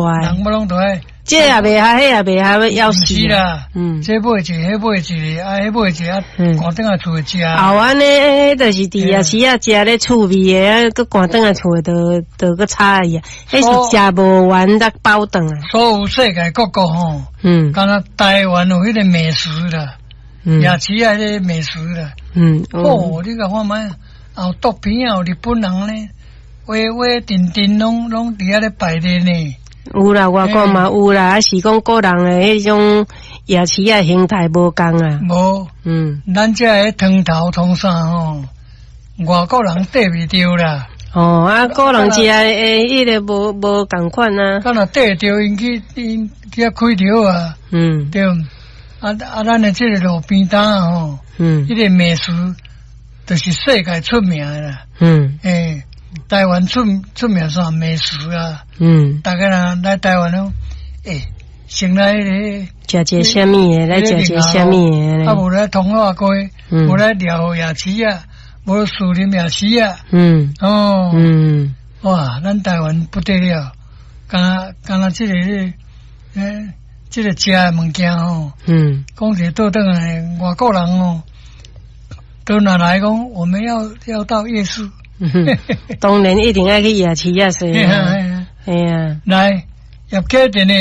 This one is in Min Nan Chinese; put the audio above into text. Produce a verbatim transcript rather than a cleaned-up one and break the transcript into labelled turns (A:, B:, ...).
A: 大的。
B: 人要攏都愛。
A: 這也袂合，彼也袂合，要死。
B: 是啦，
A: 嗯，
B: 這買一个，彼買一个，啊，彼買一个，啊，趕轉來厝食。
A: 後按呢，彼就是佇夜市仔食咧趣味的，啊，閣趕轉來厝的，就就閣差異啊。彼是食無完才飽轉來。
B: 所有世界各國吼，
A: 嗯，
B: 敢若台灣有彼个美食啦，夜市仔彼個美食啦，
A: 嗯，
B: 哦，你共看覓，有毒片仔，有日本人咧，畫畫陣陣攏攏佇遐咧擺咧呢。
A: 有啦，外國嘛有啦，啊是講個人的彼種夜市仔形態無仝啊。
B: 無，
A: 嗯，
B: 咱這个湯頭湯啥吼，外國人綴袂著啦。
A: 哦，啊，個人食的彼个無無仝款啊。
B: 敢若綴著𪜶去𪜶去遐開著啊。
A: 嗯。
B: 對，啊啊，咱的這个路邊攤吼，
A: 嗯，
B: 彼个美食就是世界出名的啦。
A: 嗯。
B: 欸，台灣出出名啥美食啊？
A: 嗯，
B: 逐家人來台灣攏，欸，先來彼
A: 个食一个啥物的，來食一个啥物的。
B: 啊，無來通化街，無來遼河夜市啊，無士林夜市啊。
A: 嗯。
B: 哦。
A: 嗯。
B: 哇，咱台灣不得了，敢若敢若這個欸，這個食的物件吼，
A: 嗯，
B: 講一個倒轉來，外國人哦，都若來講，我們要要到夜市。
A: 當然一定愛去夜市仔踅。嘿啊，
B: 來，葉啟田的